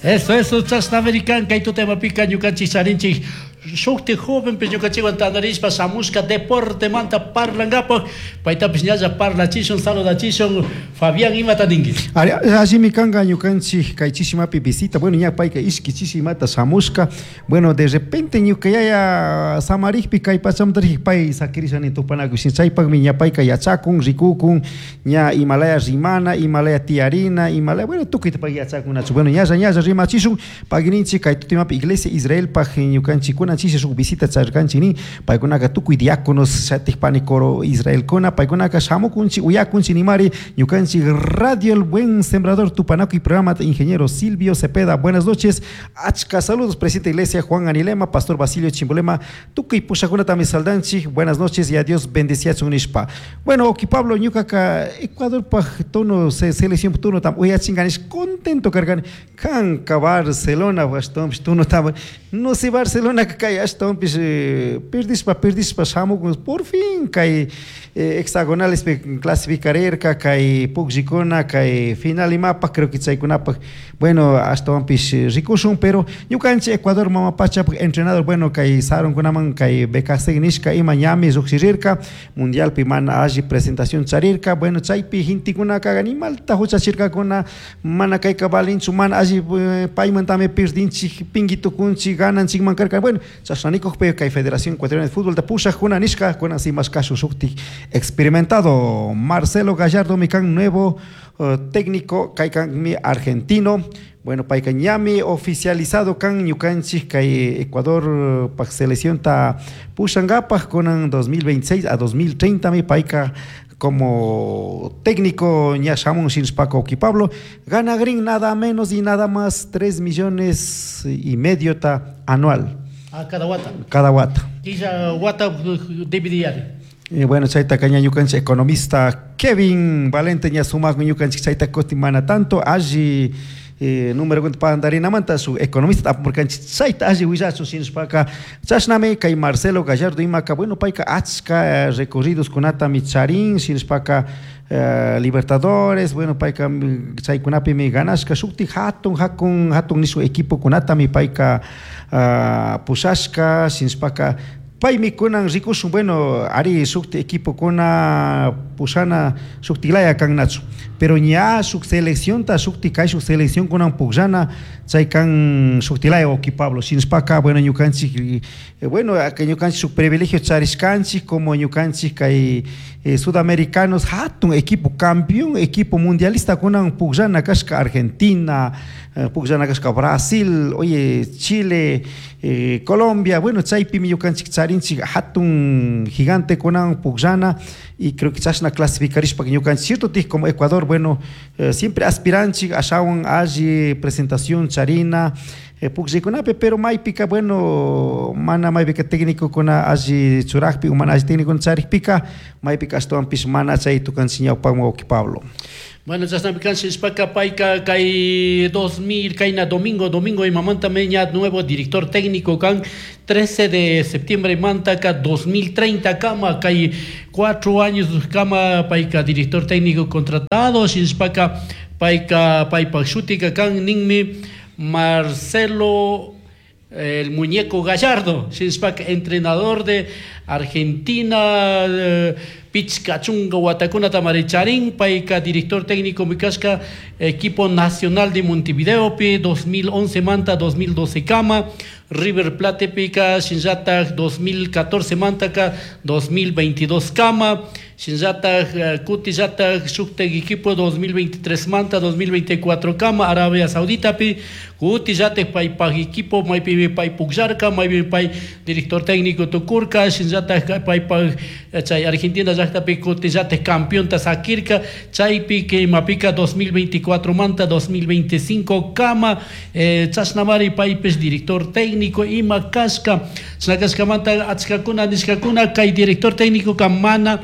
Eso, eso, chashnamari kan kay tutamapika ñukanchik charinchik shukti jovenpish ñukanchikwan tandarishpa shamushka deportemanta parlankapaj paytapish ñalla parlachishun, saludachishun. Fabián, imata ninki? Ari, allimi kanka ñukanchik kay chishimapi visita, bueno, ña payka ishki chishimata shamushka, bueno, de repente ñuka yaya samarikpi kay pachamanta rijik pay sakirisha nin tupanakuy, chaypakmi ña payka yachakun, rikukun, ña imalaya rimana, imalaya tiyarina, imalaya, bueno, tukuyta pay yachakunachu. Bueno, ñalla ñalla rimachishun, paguininchik kay tutimapi Iglesia Israelpaj ñukanchikkuna chishi shuk visita charirkanchik nin, paykunaka tukuy diáconos shatik pani coro Israelkuna, paykunaka shamukunchik, uyakunchik nimari ñukanchik Radio El Buen Sembrador tupanakuy programata ingeniero Silvio Cepeda. Buenas noches, achka saludos, presidente de Iglesia Juan Anilema, pastor Basilio Chimbolema, tukuy pushakunatami saldanchik, buenas noches y a Dios bendeciachun nishpa. Bueno, oki Pablo, ñukaka Ecuadorpaj tono selección tono tam uyachinganish contento karkani, kanka Barcelona ashtawanpish tono tam, no sé, Barcelona kay ashtawanpish perdishpa perdishpa shamukun, por fin kay hexagonalespi clasificarirka kay pukllikuna kay final imapaj, creo que chaykunapaj, bueno, ashtawanpish rikushun, pero ñukanchik Ecuador mama pachapaj entrenador, bueno, kay sarunkunaman kay BKC nishka ima ñami llujshirirka, mundialpi mana alli presentación charirka, bueno, chaypi gentekunaka animalta huchachirkakuna, mana kayka valinchu, mana alli paymantami perdinchik, pingui tukunchik, gananchikman karka, bueno, chashna nikukpi kay Federación Ecuatoriana de Fútbol pushajkuna nishka, kunan si mashkashun shuktik experimentado Marcelo Gallardo mi kan nuevo técnico, kaykanmi argentino, bueno, payka ñami oficializado kan ñukanchik kay Ecuador pak seleccionta pushankapaj kunan 2026 a 2030 mi payka como técnico ña shamun shinshpaka Oki Pablo, ganagrin nada menos y nada más 3 millones y medio ta anual. Ah, cada wata. Cada wata. Killa wata dividiari. Y bueno, chayta ña ñukanchik economista Kevin Valente ña sumakmi ñukanchik chayta kutin mana tanto alli número cuenta pandarinamanta su economista apurkanchik chayta alli willachun shinashpaka chashnami kay Marcelo Gallardo imaka, bueno, payka achka recorridos kunatami charin shinashpaka Libertadores, bueno, payka chaykunapimi ganashka shukti hatun hatun hatun nishu equipo kunatami payka pushashka shinashpaka paymi kunan rikushun, bueno, ari shukti equipo kuna pushana shuktilaya kannachu, pero ña shuk seleccionta shukti kay shuk selección kunan pukllana chay kan shuktilaya Oki Pablo shinashpaka, bueno, ñukanchik, bueno, ñukanchik shuk privilegio charishkanchik como ñukanchik kay sudamericanos hatun equipo campeón equipo mundialista kunan pukllana kashka Argentina, pukllana kashka Brasil, oye, Chile, Colombia, bueno, chaypimi ñukanchik charinchik hatun gigante kunan pukllana y creo que chashna clasificarishpa ñukanchik cierto tij como Ecuador, bueno, siempre aspiranchik ashawan alli presentación charina pukllaykunapi, pero maypika, bueno, mana maypika técnicokuna alli churakpi o mana alli técnico charikpika maypika ashtawanpish mana chay tukanchik ñawpakman Oki Pablo. Bueno, chashnami kan shishpaka payka kay 2000 kayna domingo domingo imamantami ña nuevo director técnico kan 13 de septiembre mantaka 2030 kama kay 4 años kama payka director técnico contratado shishpaka payka paypak shutika kan ninmi Marcelo el Muñeco Gallardo, shishpaka entrenador de Argentina, pichka chunka watakunata maricharin, payka director técnico mikashka equipo nacional de Montevideo pi 2011 manta 2012 kama, River Plate pika shinllatak 2014 mantaka 2022 kama, shinllatak kutillatak shuktak equipo 2023 manta 2024 kama, Arabia Saudita pi kutillatak paypak equipo maypimi pay pukllarka, maypimi pay director técnico tukurka, shinllatak paypak chay Argentina llaktapi kutillatak campeonta sakirka, chaypi imapika 2024 manta 2025 kama, chashnamari paypish director técnico ima kashka, chashna kashkamanta achkakuna nishkakuna kay director técnico ka mana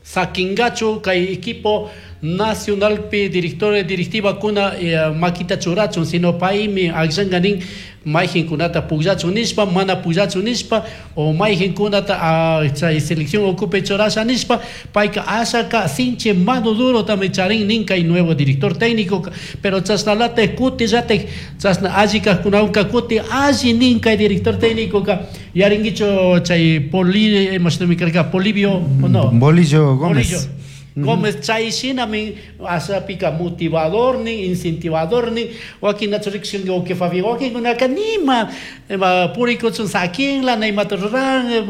sakingachu kay equipo Nacionalpi director directivakuna makita churachun, sino paymi akllanka nin mayqinkunata pukllachun nishpa, mana pukllachun nishpa, o mayqinkunata chay selección ukupi churasha nishpa, payka ashaka sinchi mano durotami charin nin kay nuevo director técnico. Pero chashnalatik kutillatik chashna alli kajkunawanka kuti alli nin kay director técnico ka. Yaringuichu chay Poli, imashinami karka, Polibio, o no? Bolillo Gómez. Bolillo Gómez chay shinami ashapika motivador nin, incentivador nin. Wakin rikshinki uki Fabi, wakinkunaka nima ima purikuchun sakinla, na imata ruran,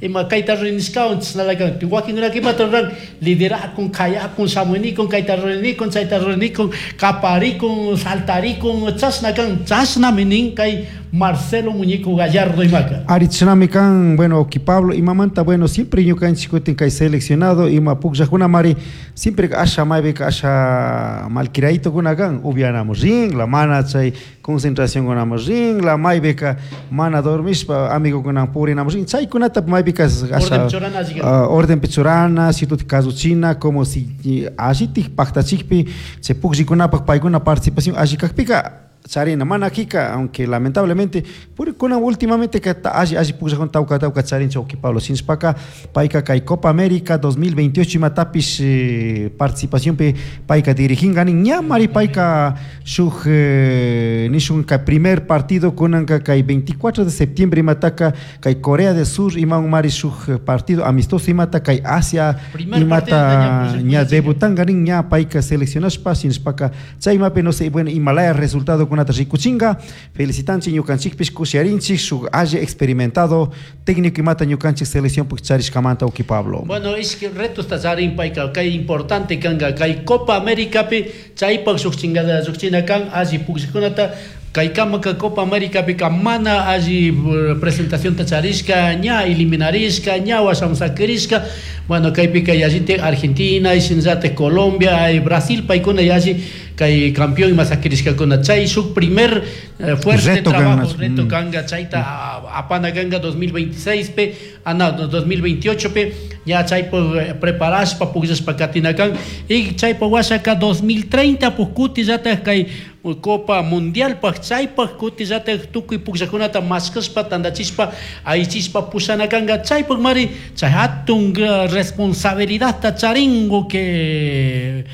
ima kayta ruranishkawan chashnalaka. Wakinkunaka imata ruran, liderakun, kayakun, shamunikun, kayta ruranikun, chayta ruranikun, kaparikun, saltarikun, chashna kan, chashnami nin kay Marcelo Muñeco Gallardo imaka. Ari chashnami kan, bueno, uki Pablo, imamanta, bueno, siempre ñukanchik kutin kay seleccionado ima pukllakuna mari, siempre asha maypika asha malquiraitokuna kan, upianamun rinla, mana chay concentracionkunaman rinla, maypika mana dormishpa amigukunawan purinamun rin, chaykunata maypika asha Orden churana alli kan. Ordenpi churana, situti kasuchina, como si allitik paktachikpi, chay pukllikunapak paykuna participación alli kakpika charina, mana kika, aunque lamentablemente purikuna últimamente que alli alli pukllakuna tawka tawka charin uki Pablo, sinchpaka payka kay Copa América 2028 imatapish participacionpi payka diriginga nin, ña mari payka shuk nishun kay primer partido kunanka kay 24 de septiembre imataka kay Corea del Sur iman mari shuk partido amistoso imata kay Asia Primer imata partido ña ña debutanga nin, ña payka seleccionashpa, sinchpaka chay imapi no sé, bueno, imalaya resultado kunata rikuchinga. Felicitanchik ñukanchikpish kushiarinchik shuk alli experimentado técnico imata ñukanchik selección puk charishkamanta uki Pablo. Bueno, ishki retos ta charin payka kay importante kanka kay Copa Américapi chaypak shuk chingada shuk china kan alli pukllakkunata kay kamaka Copa Américapi ka mana alli presentación ta charishka, ña eliminarishka, ña washamun sakirishka. Bueno, kaypika yallitik Argentina, shinallatik Colombia, Brasil paykuna yalli kay campeón ima sakirishkakuna. Chay shuk primer fuerte Reto trabajo, kanka. reto kanka, chayta apana kanka 2026 pe, ah, no, 2028 pe, ya chaypo preparashpa pukllashpa katina kan. Y chaypo washaka 2030 puk kutillatak kay Copa Mundial pak chaypak kutillatak tukuy pukllakunata mashkashpa tandachishpa aychishpa pushana kanka. Chaypak mari chay hatun responsabilidadta charingo que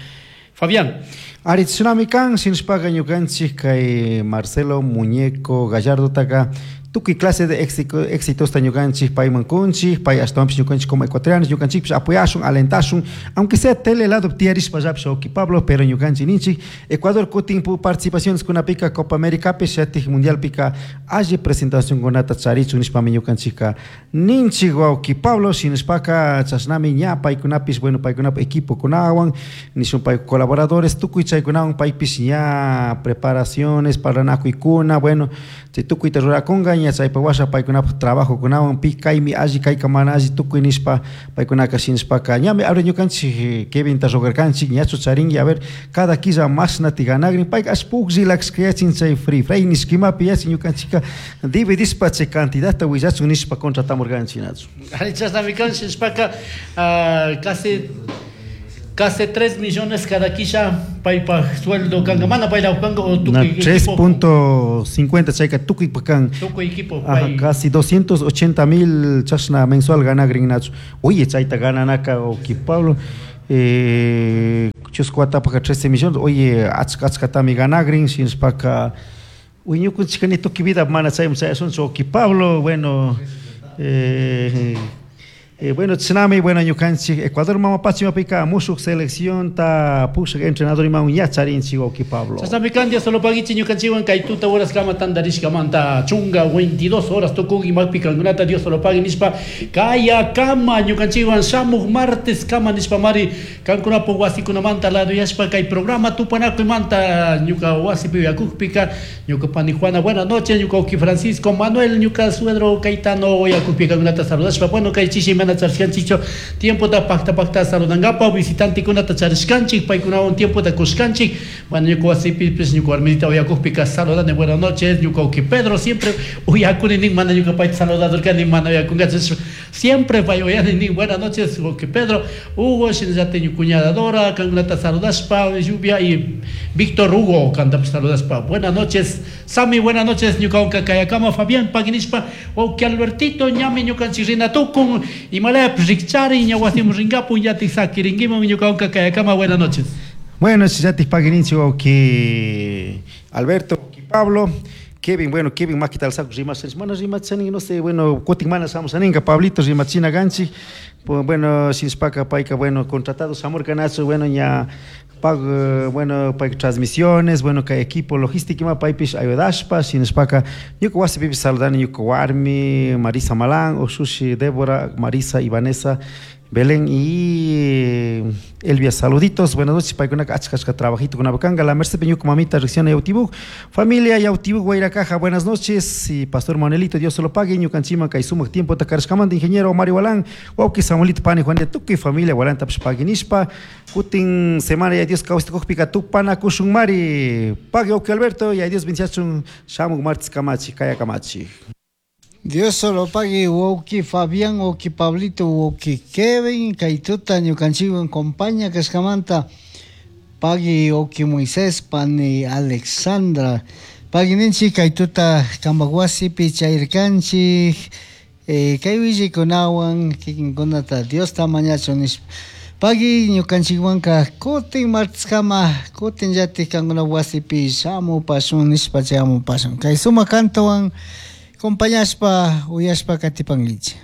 Fabián. Ari tsunami kan sinchpaka ñukanchik kay Marcelo Muñeco Gallardo taka tukuy clase de éxitos ta ñukanchik payman kunchik, pay ashtawanpish ñukanchik como ecuatorianos ñukanchikpish apoyashun, alentashun, aunque sea tele lado tiyarishpa llapish uki Pablo, pero ñukanchik ninchik Ecuador kutin pu participaciones kunapika Copa América pi shatik Mundialpika alli presentación kunata charichun nishpami ñukanchikka ninchik wawki Pablo, shinashpaka chashnami ña paykunapish, bueno, paykunapa equipo kunawan nishun pay colaboradores tukuy chaykunawan paypish ña preparaciones parlanakuykuna, bueno, chay tukuyta rurakunka ña chaypa washa paykunapak trabajo kunawan pi kaymi alli kayka mana alli tukuy nishpa paykunaka shinashpaka ñami abre ñukanchik Kevinta rogarkanchik ñachu charinki, a ver cada killa mashnati ganagrin payka ash puklla yachin chay free free nishkimapi yachin ñukanchikka dividishpa chay cantidadta willachun nishpa contratamurkanchik nachu. Ari chashnami kan shinashpaka, casi 3 millones cada quilla paypa sueldo kanka, mana payla kanka o tukuy Na, equipo. tres punto cincuenta chayka tukuy pa kan. Tukuy equipo, Ajá, pay. casi 280 mil chashna mensual ganagrin nachu. Oye, chayta gananaka uki Pablo, chusku watapaka 13 millones, oye, achka achkatami ganagrin, shinashpaka, uy, ñukunchika ni tukuy vida mana chayman chayasunchu uki Pablo, bueno, bueno, chashnami, bueno, ñukanchik Ecuador mama pachimapika mushuk selección ta pushak entrenador imawan ña charinchik uki Pablo. Chashnami kan, Dios solo paguichi ñukanchikwan kay tuta horas kama tandarishkamanta chunga 22 horas tukun imapika kankunata Dios solo pagui nishpa kaya kama ñukanchikwan shamuk martes kama nishpa mari kankunapak wasikunamanta lado yashpa kay programa tupanakuymanta ñuka wasipi uyakukpika ñuka pani Juana, buenas noches, ñuka uki Francisco Manuel, ñuka suegro Caetano uyakukpi kankunata saludashpa, bueno, kay chishi Mana charishkanchikchu tiempota pakta pakta saludankapa visitantekunata charishkanchik, paykunawan tiempota kushkanchik. Bueno, ñuka wasipipis ñuka warmita uyakukpika saludani, buenas noches, ñuka wawki Pedro siempre uyakuni nin, mana ñuka payta saludadorkani, mana uyakunkachu, siempre pay uyani nin, buenas noches, wawki Pedro, Hugo, shinallatik ñuka cuñada Dora, kankunata saludashpa, Lluvia y Víctor Hugo, kantapish saludashpa, buenas noches, Sami, buenas noches, ñukawanka kayakama Fabián paginishpa, wawki Albertito, ñami ñukanchik rina tukun, imalayapish rikchari, ña wasiman rinkapun, yatik sakirinkiman, ñukawanka kayakama, buenas noches. Bueno, yatik pagininchik wawki Alberto, wawki Pablo, Kevin, bueno, Kevin makita alzakun rimasha, mana rimachani, no sé, bueno, kutin mana shamushaninka, Pablito rimachina kanchik, bueno, shinashpaka payka, bueno, contratado shamurkanachu, bueno, ña pag, bueno, pay transmisiones, bueno, kay equipo logística ima paypish ayudashpa, shinashpaka ñuka wasipipish saludani ñuka warmi Marisa Malán, ushushi Débora, Marisa y Vanessa, Belén y Elvia, saluditos, buenas noches, paykunaka achka achka trabajito kanga, la Merced ñuka mamita Ricciona Yautibuk, familia Yautibuk Guairacaja, buenas noches, y Pastor Manuelito, Dios se lo pague, ñukanchikman kay sumak tiempo karashkamanta, ingeniero Mario Walán, wawki Samuelito Pani Juan de tukuy familia Walantapish paginishpa, kutin semana ya Dios kawsayta kukpika tupanakushun mari, pague wawki Alberto, ya Dios bendiciachun, shamuk martes kamachi, kaya kamachi. Dios solo pague wawki Fabián, wawki Pablito, wawki Kevin, kay tuta ñukanchikwan compañía kashkamanta, pagui wawki Moisés, pani Alexandra, pagui ninchik kay tuta kampak wasipi chayrkanchik, kay willikunawan kikinkunata Diosta mañachun nishpa. Pagui ñukanchikwanka kutin marteskama kutin llatik kankuna wasipi shamupashun nishpa chayamupashun. Kay sumak kantawan acompañashpa uyashpa katipankichik.